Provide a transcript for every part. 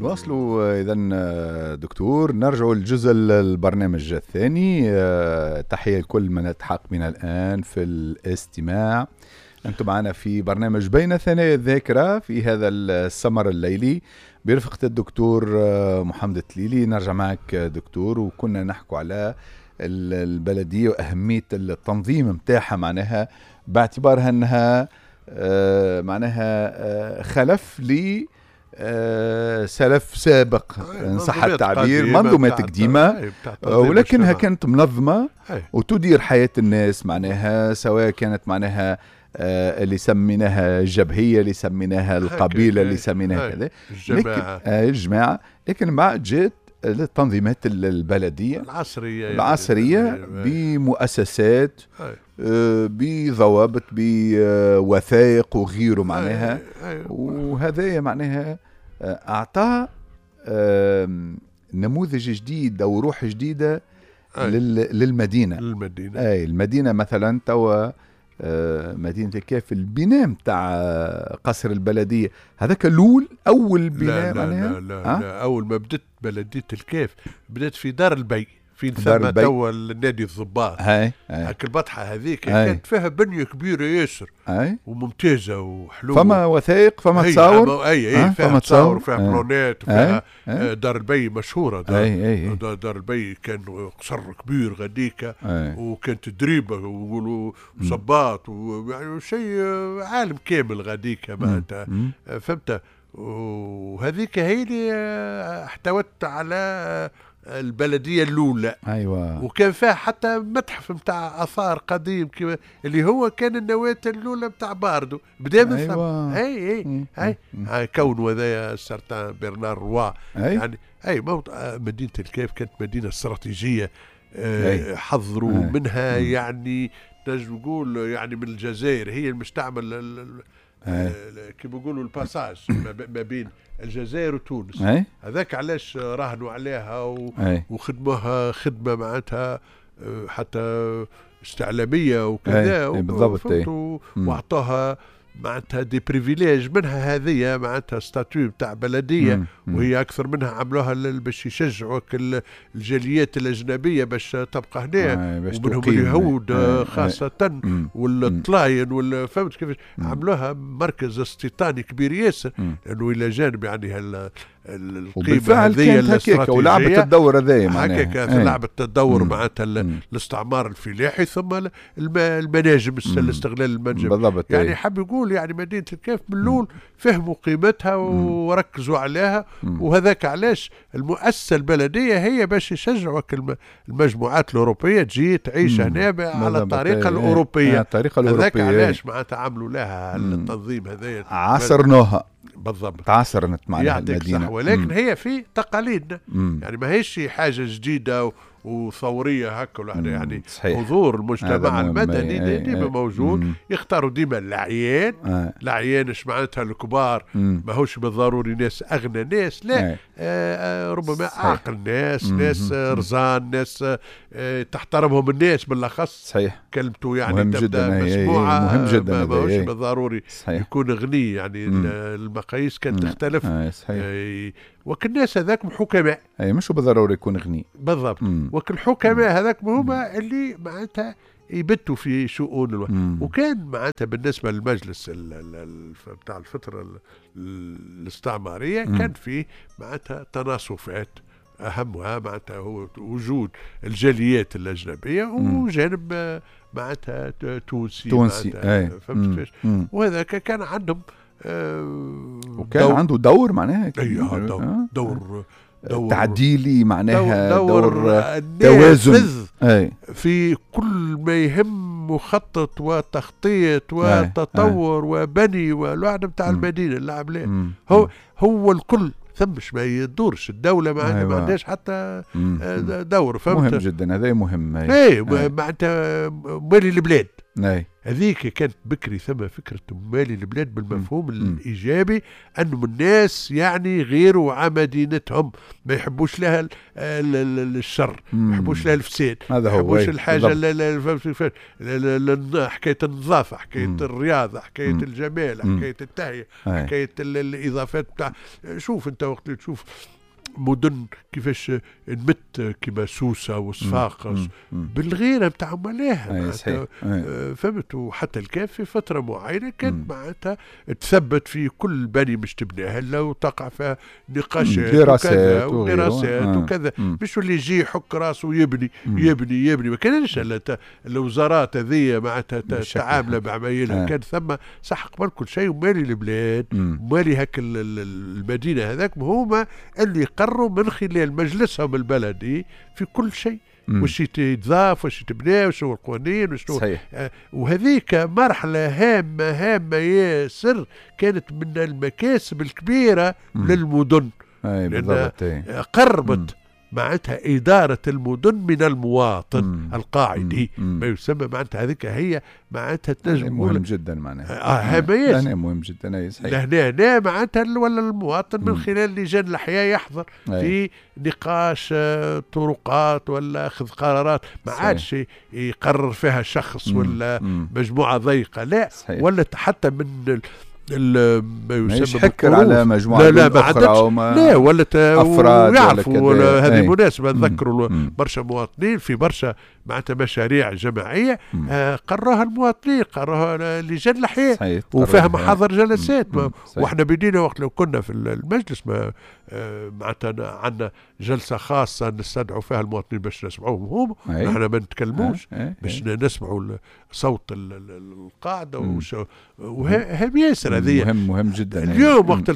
نواصلوا اذا دكتور، نرجع للجزء البرنامج الثاني. تحية لكل من التحق بنا الان في الاستماع. انتم معنا في برنامج بين ثنايا الذاكرة في هذا السمر الليلي برفقه الدكتور محمد التليلي. نرجع معك دكتور، وكنا نحكوا على البلدية واهمية التنظيم متاعها، معناها باعتبارها انها معناها خلف ل سلف سابق ان صح التعبير، منظومات قديمة ولكنها كانت منظمة وتدير حياة الناس، معناها سواء كانت معناها اللي سميناها الجبهيه، اللي سميناها القبيلة، اللي سميناها كذا، الجماعة. لكن بعد جات التنظيمات البلدية العصرية بمؤسسات، بضوابط، بوثائق وغيره معناها. وهذا معناها أعطى نموذج جديد أو روح جديدة للمدينة. أي المدينة مثلا توا مدينة الكاف، البناء متاع قصر البلدية هذاك الأول، أول بناء. لا لا, لا, لا, لا أول ما بدت بلدية الكاف بدت في دار البي، فين ثم توا النادي الضباط. هاك البطحة هذيك كانت فيها بنية كبيرة ياسر وممتازة وحلوة. فما وثائق، فما تصاور، اي فيها تصاور، فيها بلونات، وفيها دار البي مشهورة. دار البي كان قصر كبير غاديكا، وكانت دريبة وصباط ويعني شيء عالم كامل غاديكا معناتها، فهمت. وهذيك هي اللي احتوت على البلدية الاولى. ايوه. وكان فيها حتى متحف نتاع اثار قديم كما اللي هو كان النواة الاولى نتاع باردو، بدا من ثم. اي اي اي كون هذايا certain برنار روا. يعني اي مدينة الكاف كانت مدينة استراتيجية، حضروا منها يعني نجم نقول يعني من الجزائر، هي المستعمل كيما نقولوا ال passage ما بين الجزائر وتونس. هذاك علاش راهنوا عليها وخدموها خدمة معناتها حتى استعلاميه وكذا. بالضبط. واعطوها معناتها des privilèges، منها هذه معناتها statut نتاع بلديه، وهي اكثر منها عملوها باش يشجعوا الجاليات الاجنبية باش تبقى هنا، ومنهم اليهود خاصة والطلاين، فهمت كيفاش عملوها مركز استيطاني كبير ياسر، لانه الى جانب يعني القيمة هذه الاستراتيجية ولعبت الدور هذايا معناها هكاك لعبت الدور معناتها الاستعمار الفلاحي ثم المناجم، الاستغلال المنجم بالضبط. يعني حاب يقول يعني مدينة الكاف من الاول فهموا قيمتها وركزوا عليها، وهذاك علاش المؤسسة البلدية هي باش يشجعوا المجموعات الاوروبية تجي تعيش هنا على الطريقة الاوروبية. الطريقة الاوروبية هذاك علاش معناتها عملوا لها التنظيم هذايا، عاصرناها بالضبط، تعاصرت معناها المدينة. صح. ولكن هي في تقاليدنا، يعني ما هيش حاجة جديدة وثوريه هكا ولا يعني. صحيح. حضور المجتمع المدني ديما موجود. يختاروا ديما الاعيان. الاعيان اش معناتها؟ الكبار، ماهوش بالضروري ناس اغنى ناس، لا، ربما اعقل ناس، ناس رزان، ناس تحترمهم الناس بالاخص. صحيح. كلمته يعني تبدا مسموعة. مهم جدا. ماهوش بالضروري يكون غني، يعني المقاييس كانت تختلف. صحيح. وكل الناس هذاك حكماء. اي مش بالضروري يكون غني. بالضبط. وكل الحكماء هذاك هما اللي معناتها يبتوا في شؤون وكان معناتها بالنسبة للمجلس بتاع الفترة الاستعمارية كان فيه معناتها تناصفات، اهمها معناتها هو وجود الجاليات الاجنبية وجانب معناتها تونسي. فهمت كيفاش؟ وهذاك كان عندهم وكان عنده دور معناها. ايوه دور تعديلي معناها، دور توازن في كل ما يهم مخطط وتخطيط وتطور وبني والوعد نتاع المدينة. اللعب ليه هو الكل، ثمش ما يدورش الدولة ما عندهاش حتى دور. فهمت؟ مهم جدا هذا، مهم. اي معناتها مالي البلاد. هذيك كانت بكري ثم فكرة مالي البلاد بالمفهوم الإيجابي، أنه الناس يعني غيروا على مدينتهم، ما يحبوش لها الشر، ما يحبوش لها الفساد، ما يحبوش الحاجة، حكاية النظافة، حكاية الرياضة، حكاية الجمال، حكاية التهيئة، حكاية الإضافات بتاع. شوف أنت وقت تشوف مدن كيفاش نمت كيما سوسة وصفاقس بالغيره نتاع ملاها، فهمت. وحتى الكاف في فترة معينة كانت معناتها تثبت في كل بني مش تبنيها الا وتقع فيها نقاشات وكذا ودراسات وكذا، مش اللي يجي يحك راسه ويبني يبني يبني. ما كانش الوزارات هذه معناتها تعامله بعمايلها، كان ثم صح قبل كل شيء ومالي البلاد ومالي هاك المدينة هذاك هما اللي قروا من خلال مجلسهم البلدي في كل شيء، وش يتضاف وش يتبنى وش هو القوانين وش وهذيك مرحلة هامة هامة ياسر، كانت من المكاسب الكبيرة للمدن، لأن قربت معناتها إدارة المدن من المواطن القاعدي، ما يسمى معناتها هذيك هي معناتها تنجم مهم جدا معناها هامة مهم جدا. صحيح. لهنا معناتها ولا المواطن من خلال لجان الأحياء يحضر في نقاش طرقات ولا أخذ قرارات، ما عادش يقرر فيها شخص ولا مجموعة ضيقة، لا صحيح. ولا حتى من ما يسمى حكر على مجموعة لا لا ما عادش، لا ولا أفراد ويعرفوا. هذه مناسبة نذكروا برشا مواطنين في برشا معناتها مشاريع جماعية قروها المواطنين، قروها لجان الأحياء وفيها محاضر جلسات. واحنا بدينا وقت لو كنا في المجلس ما معناتها عندنا جلسة خاصة نستدعوا فيها المواطنين باش نسمعوهم هم، نحن ما نتكلموش باش نسمعوا صوت القاعدة وهم ياسر. هذه مهم جدا اليوم وقت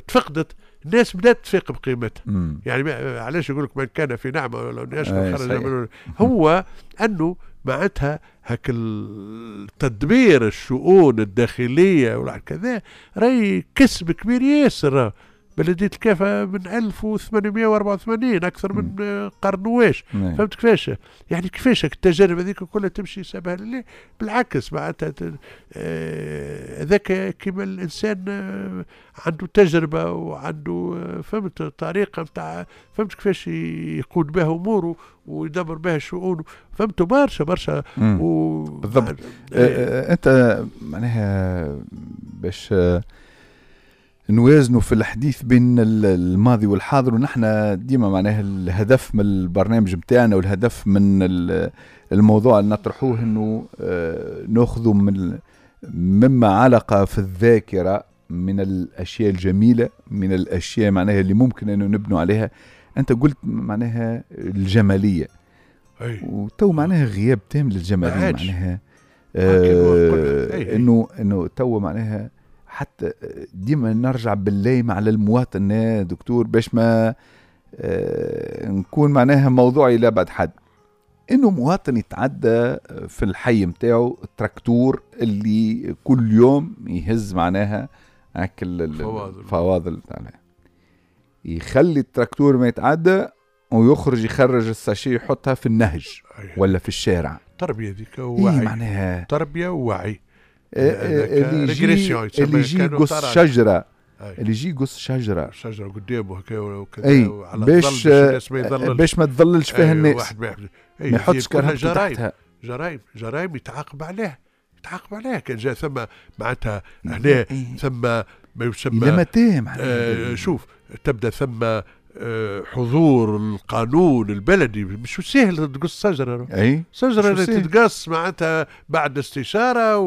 تفقدت الناس بدات تفيق بقيمتها. يعني علاش يقول لك من كان في نعمه ولا يشكر خرج، هو انه معناتها هاك التدبير الشؤون الداخلية ولا كذا راهي كسب كبير ياسر. بلدية الكافة من 1884 أكثر من قرن واش، فهمت كيفاش؟ يعني كيفاش التجارب هذيك كلها تمشي سبها لله؟ بالعكس معناتها هذاك كيما الإنسان عنده تجربة وعنده فهمت طريقة نتاع فهمت كيفاش يقود بها أموره ويدبر بها شؤونه، فهمتوا برشا برشا بالضبط. أنت معناها باش نوازنوا في الحديث بين الماضي والحاضر، ونحن ديما معناها الهدف من البرنامج متاعنا والهدف من الموضوع اللي نطرحوه انه ناخذوا من مما علق في الذاكرة من الاشياء الجميلة، من الاشياء معناها اللي ممكن انه نبنوا عليها. انت قلت معناها الجمالية، وتو معناها غياب تام للجمالية، معناها انه تو معناها حتى ديما نرجع بالليم على المواطن دكتور باش ما نكون معناها موضوعي لا بعد حد، انه مواطن يتعدى في الحي متاعه التراكتور اللي كل يوم يهز معناها اكل الفواضل بتاعنا، يخلي التراكتور ما يتعدى ويخرج يخرج ال sachet يحطها في النهج ولا في الشارع. تربية ذيك ووعي، إيه معناها تربية ووعي. اللي يجي يقص شجرة، اللي يجي يقص شجرة قدامه هكا وكذا على باش ما تظللش فيها الناس، ما يحطش كرهبته تحتها. جرايم يتعاقب عليها، يتعاقب عليها. كان جاء ثم معناتها هنا ثم ما يسمى شوف تبدا ثم حضور القانون البلدي. مش سهل تقص شجرة، شجرة اللي تتقص معناتها بعد استشارة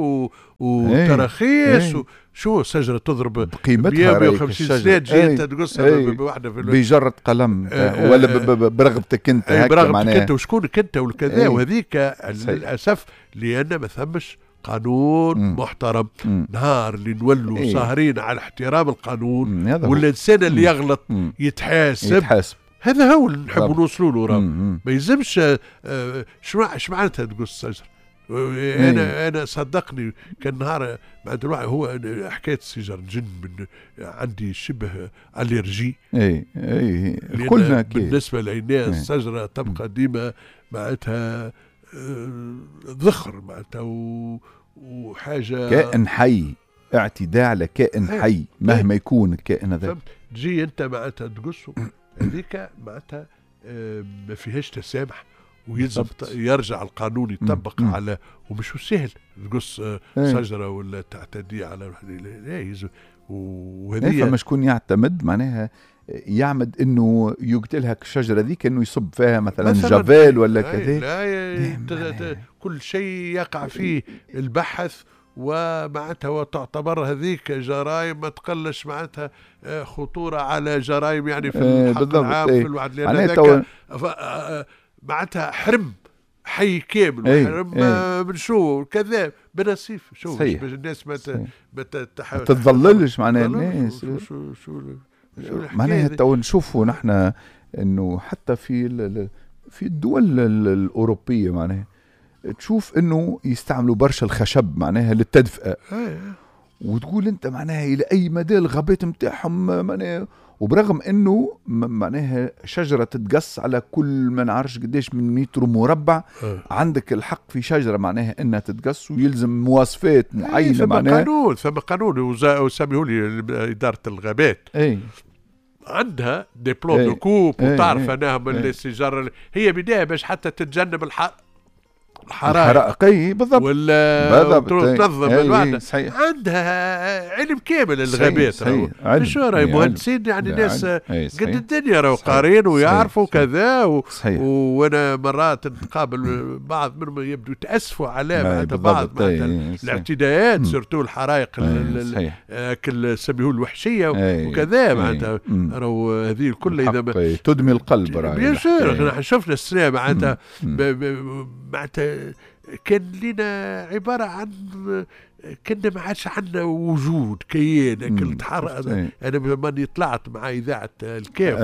وتراخيص. شو شجرة تضرب بقيمتها 150 سنة تجي انت تقصها بواحدة في بجرة قلم ولا برغبتك انت، برغبتك انت وشكونك انت والكذا. وهذيك للأسف لأن ما ثمش قانون محترم. نهار اللي نولوا ساهرين على احترام القانون، والإنسان اللي يغلط يتحاسب. هذا هو اللي نحبوا نوصلوا له. راه ما يلزمش. شو معناتها تقص شجرة؟ انا صدقني كان نهار معناتها الواحد هو حكاية السيجار نجن من عندي شبه allergie. اي كلنا بالنسبة لنا الشجرة تبقى ديما معناتها ذخر معناتها وحاجه كائن حي، اعتداء على كائن حي مهما يكون الكائن هذا. تجي انت معناتها تقصه هذيك معناتها ما فيهاش تسامح، ويلزم يرجع القانون يطبق على، ومش سهل تقص شجرة ولا تعتدي على، لا يلزم. وهذه فما شكون يعتمد معناها يعمد انه يقتلها الشجرة ذيك، انه يصب فيها مثلا جافيل ولا كذا. لا كل شيء يقع فيه البحث، ومعناتها وتعتبر هذيك جرائم ما تقلش معناتها خطورة على جرائم يعني في الحق العام في الوعد، لان هذاك معناتها حرم حي كامل وحرم من شو كذا بنصيف شو باش الناس ما تتضللش معناها الناس. شو معناها تو نشوفوا نحن انه حتى في الدول الاوروبية معناها تشوف انه يستعملوا برشا الخشب معناها للتدفئه، وتقول انت معناها الى اي مدى الغابات نتاعهم معناها، وبرغم انه معناها شجرة تتقص على كل ما نعرفش قداش من متر مربع، عندك الحق في شجرة معناها انها تتقص ويلزم مواصفات معينة معناها. قانون، ثم قانون وسميه لي ادارة الغابات عندها des plans de coupe، وتعرف انها من الشجر هي بداية باش حتى تتجنب الحرائق. بالضبط، ولا تنظم الوعد. عندها علم كامل الغابات، شو راهي مهندسين يعني ناس قد الدنيا راهو قارين ويعرفوا كذا وانا مرات نتقابل بعض منهم يبدو يتاسفوا على بعض الاعتداءات، surtout الحرائق كل سميوه الوحشية وكذا معناتها راهو هذه الكل اذا تدمي القلب راهي. bien sûr شفنا السنة معناتها معناتها كان لنا عبارة عن كنا ما عادش عندنا وجود كيان كل تحرق. أنا لما طلعت مع إذاعة الكاف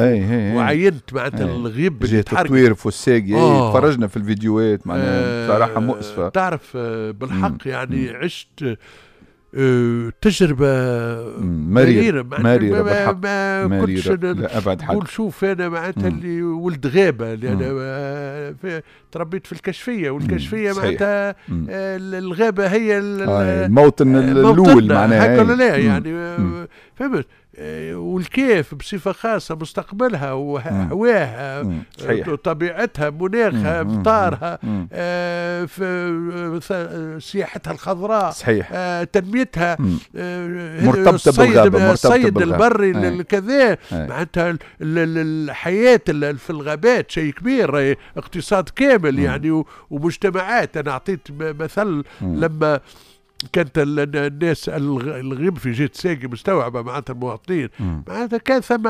وعينت معناتها الغيب اللي تحرق، تطوير فساقي، تفرجنا في الفيديوهات معناها بصراحة مؤسفة. تعرف بالحق يعني عشت تجربة مريرة مريرة بالحق، ما كنتش نقول شوف أنا معناتها اللي ولد غابة، اللي أنا تربيت في الكشفية، والكشفية معناتها الغابة هي الموطن الأول معناها هكا لا يعني فهمت. والكيف بصفة خاصة مستقبلها وهواها طبيعتها مناخها مطارها سياحتها الخضراء صحيح. تنميتها مرتبطة بالغابة، الصيد البري كذا معناتها الحياة في الغابات شيء كبير، اقتصاد كامل يعني ومجتمعات. أنا أعطيت مثل لما كانت الناس الغيب في جهة ساقي مستوعبة معناتها المواطنين معناتها كان ثم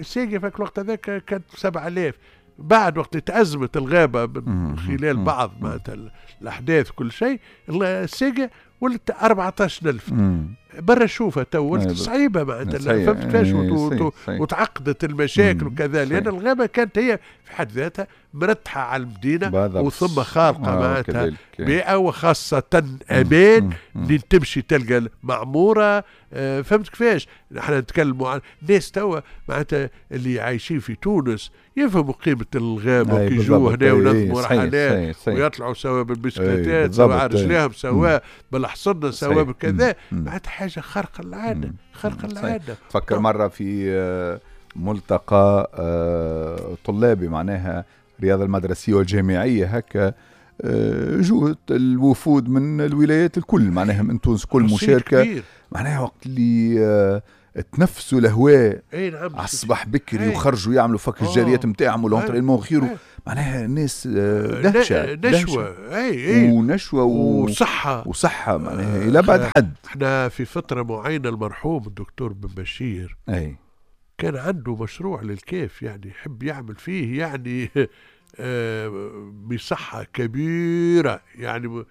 ساقي في الوقت هذاك كانت 7000، بعد وقت تأزمت الغابة من خلال بعض معناتها الأحداث كل شيء الساقي ولت 14000 برا شوفها تو ولت صعيبة معناتها فهمت كيفاش وتعقدت المشاكل وكذا، لأن الغابة كانت هي في حد ذاتها مرتحة على المدينة وثم خارقة معناتها بيئة وخاصة أمان اللي تمشي تلقى معمورة. فهمت كيفاش؟ نحن نتكلموا عن ناس توا معناتها اللي عايشين في تونس يفهموا قيمة الغابة وكي يجوا هنا وينظموا رحلات ويطلعوا سواء بالبسكليتات سواء على رجليهم سواء بالحصنة سواء بكذا، معناتها حاجة خارقة العادة، خارقة العادة. تفكر مرة في ملتقى طلابي معناها الرياضة المدرسية والجامعية هكا، جوت الوفود من الولايات الكل معناها من تونس كل مشاركة معناها وقت اللي تنفسوا الهواء على الصباح بكري وخرجوا يعملوا فك الجاريات نتاعهم وال entraînement غيره معناها الناس دهشة نشوة ونشوة وصحة معناها إلى بعد حد. احنا في فترة معينة المرحوم الدكتور بن بشير كان عنده مشروع للكيف يعني يحب يعمل فيه يعني مساحة كبيرة يعني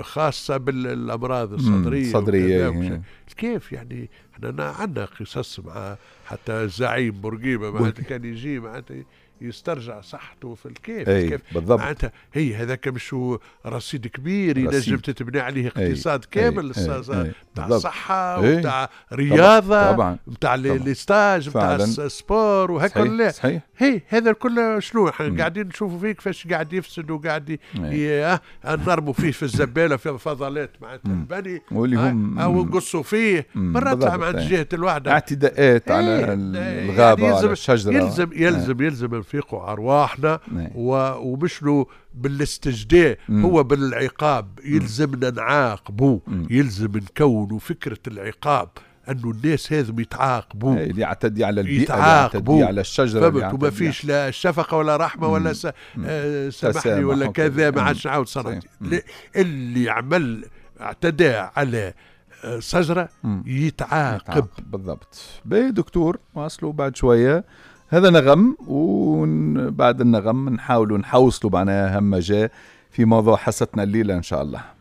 خاصة بالأمراض الصدرية. الكيف يعني احنا عندنا قصص مع حتى الزعيم بورقيبة معناتها كان يجي معناتها يسترجع صحته في الكيف. كيف بالضبط. معناتها هي هذاك مش هو رصيد كبير ينجم تتبنى عليه اقتصاد كامل، نتاع صحة ونتاع رياضة، نتاع les stages، نتاع ال sport وهكا. لا صحيح. هي هذا الكل شنو قاعدين نشوفوا فيه كيفاش قاعد يفسد وقاعد نرموا فيه في الزبالة، في فضلات معناتها البني واللي هم او نقصوا فيه مرات مع جهة الوحدة، اعتداءات على الغابة يعني وعلى الشجرة. يلزم يلزم يلزم نفيقوا ارواحنا ومشنو بالاستجداء، هو بالعقاب. يلزمنا نعاقبوا، يلزم نكونوا فكرة العقاب، انه الناس هذم يتعاقبوا، اللي يعتدي على البيئة، يتعاقبوا على الشجرة، فهمت؟ وما فيش لا شفقة ولا رحمه ولا سامحني ولا كذا، ما عادش نعاود صنعتي. اللي عمل اعتدى على شجرة يتعاقب. بالضبط. باهي دكتور، واصلوا بعد شوية هذا نغم، وبعد النغم نحاولوا نحوصلوا معناها أهم ما جاء في موضوع حصتنا الليلة إن شاء الله.